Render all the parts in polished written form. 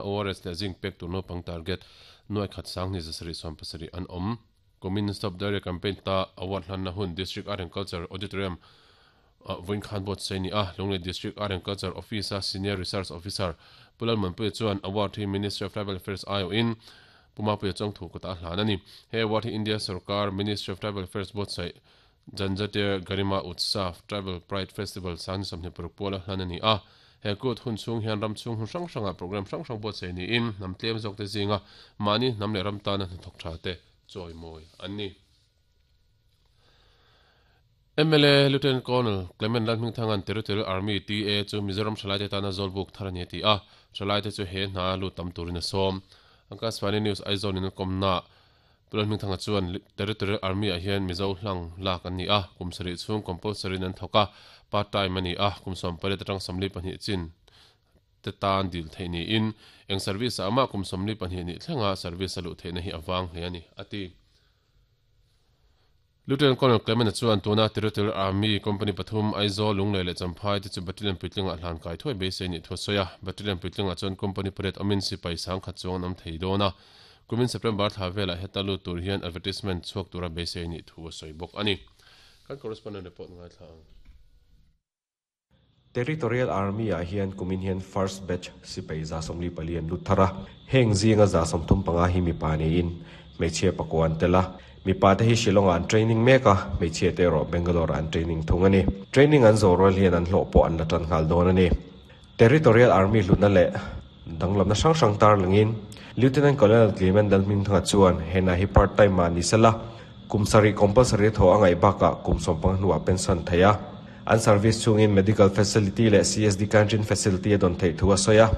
ORS leh zinc pek tur naupang target nuai khat sanghnih zasarih sawmpasarih an awm. Kumin Stop Diarrhea Campaign ta award hlanna hun District Art and Culture Auditorium ah vawiin khan buatsaih a ni a. Lunglei District Art and Culture Office a Senior Research Officer Pu Lalmuanpuia chuan award hi Ministry of Tribal Affairs aiawhin Pu Mapuia Chawngthu kutah a hlan a ni. He award hi India sorkar Ministry of Tribal Affairs buatsaih Janjatiya Garima Utsav, Tribal Pride Festival, 2026 puala hlan a ni a. He kut hun chhung hian ram chhung hun hrang hrangah programme hrang hrang buatsaih niin hnam tlem zawkte zinga mahni hnam leh ram tana hnathawk tha te chawimawi an ni. Mla Lieutenant Colonel Clement Lalhmingthanga'n Territorial Army, TA, chu Mizoram thalaite tana zawlbuk thar a ni a ti a, thalaite chu he hna lut tam turin a sawm. Akashvani News Aizawl in a kawmnaah Pu Lalhmingthanga chuan Territorial Army ah hian Mizo hlang lak an ni a, kum sarih chhung compulsory in an thawk a, part time a ni a, kum 18 atang 42 chin te tan dil theih niin eng service ah mah kum 42 nih thlenga service a luh theihna hi a vang hle a ni, a ti. Lieutenant Colonel Clement-a chuan tuna Territorial Army Company pathum, Aizawl, Lunglei leh Champhai te chu Battalion puitlingah hlan kai thuai beisei nih thu a sawi a. Battalion puitlingah chuan Company pariat awmin sipai sangkhat chuang an awm thei dawn a. Kumin September thla velah heta lut tur hian advertisement chhuak tura beisei nih thu a sawi bawk a ni. Kan correspondent report ngaithla ang. Territorial Army ah hian kumin hian first batch sipai 144 an lut thar a, heng zinga 35 hi mipa niin hmeichhia pakua an tel a. Mipa te hi Shillong ah an training mek a, hmeichhia te erawh Bangalore ah an training thung a ni. Training an zawh rual hian an hlawh pawh an la tan nghal dawn a ni. Territorial Army hlutna leh danglamna hrang hrang tarlangin Lieutenant Colonel Clement Lalhmingthanga chuan hena hi part time ah ni sela, kum sarih compulsory a thaw a ngaih bakah kum sawmpanga hnuah pension theih a. An service chungin medical facility leh CSD canteen facility a dawn theih thu a sawi a.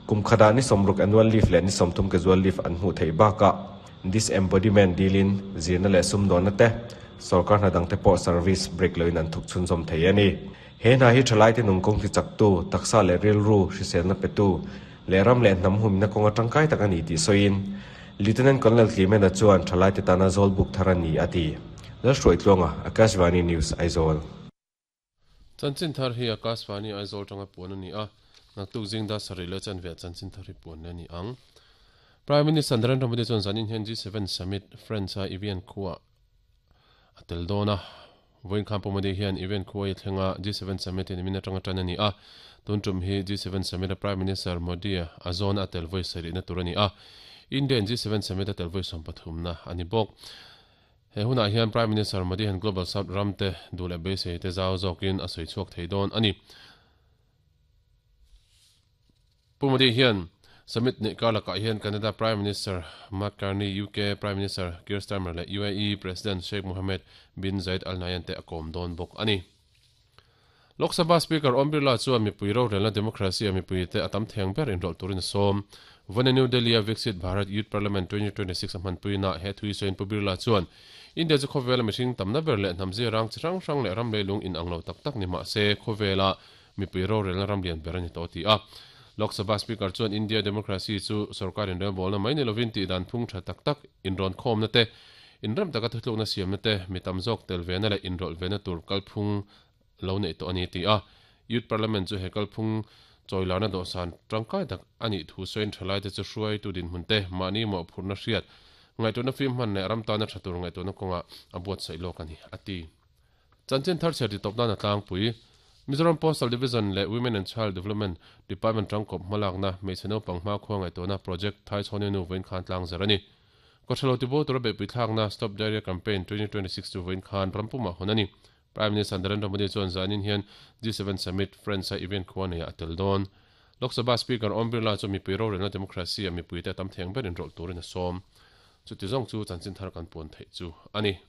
Kum khatah ni sawmruk annual leave leh ni 30 casual leave an hmuh theih bakah disembodiment dilin zirna leh sumdawnna te, sorkar hna dangte pawh service break loin an thawk chhunzawm thei a ni. He hna hi thalaite nungkawng tichaktu, taksa leh rilru hriselna petu leh ram leh hnam humna kawnga tangkai tak a ni tih sawiin Lieutenant Colonel Clement-a chuan thalaite tana zawlbuk thar a ni a ti. Lalhruaitluanga, Akashvani News, Aizawl. Chanchin thar hi Akashvani Aizawl tanga puan a ni a, naktuk zing dar sarih leh chanve ah chanchin thar hi puan leh a ni ang. Prime Minister Narendra Modi chuan zanin hian G7 Summit France-a Evian khuaah a tel dawn a. Vawiin khan Pu Modi hian event khuai a thleng a, G7 Summit hi nimin atanga tan a ni a. Tun tum hi G7 Summit a Prime Minister Modi a zawna a tel vawi sarihna tur a ni a. India in G7 Summit a tel vawi 13na a ni bawk. He hunah hian Prime Minister Modi hian Global South ram te duh leh beisei te zau zawkin a sawi chhuak thei dawn a ni. Pu Modi hian Summit neih kar lakah hian Canada Prime Minister Mark Carney, UK Prime Minister Keir Starmer leh UAE President Sheikh Mohammed bin Zayed Al Nahyan te a kawm dawn bawk a ni. Lok Sabha Speaker Om Birla chuan mipui rorelna democracy a mipuite a tam theng ber inrawlh turin a sawm. Vawiin New Delhi-a Viksit Bharat Youth Parliament 2026 a hmanpuinaah he thu hi sawiin Pu Birla chuan India chu khawvela mihring tamna ber leh hnam zirang chi hrang hrang leh ram leilung inang lo tak tak ni mah se khawvela Mipui rorelna ram lian ber a ni tawh a ti a. Lok Sabha Speaker chuan India democracy chu sorkar inrelbawlna mai ni lovin tihdan phung tha tak tak, inrawnkhawmna te, inrem taka thutlukna siamna te, mi tam zawk tel vena leh inrawlh vena tur kalphung lo neih tawh a ni a ti a. Youth Parliament chu he kalphung chawilarna dawhsan tangkai tak a nih thu sawiin thalaite chu hruaitu dinhmun te, mahni mawhphurhna hriat, ngaihtuahna fim hman leh ram tana tha tur ngaihtuahna kawngah a buatsaih lawk a ni a ti. Chanchin thar chhiar titawp nan a tlangpui. Mizoram Postal Division leh Women and Child Development Department tangkawp hmalakna hmeichhe naupang hmakhua ngaihtuahna project Thaichhawni nu vawiin khan tlang zer a ni. Kawthalo tibo tura beihpui thlakna Stop Diarrhea Campaign 2026 chu vawiin khan ram pumah hawn a ni. Prime Minister Narendra Modi chuan zanin hian G7 Summit, France-a event khua neiah a tel dawn. Lok Sabha Speaker Om Birla chu mipui rorelna democracy-a mipuite a tam theng ber inrawlh turin a sawm. Chuti zawng chu chanchin thar kan puan theih chu a ni.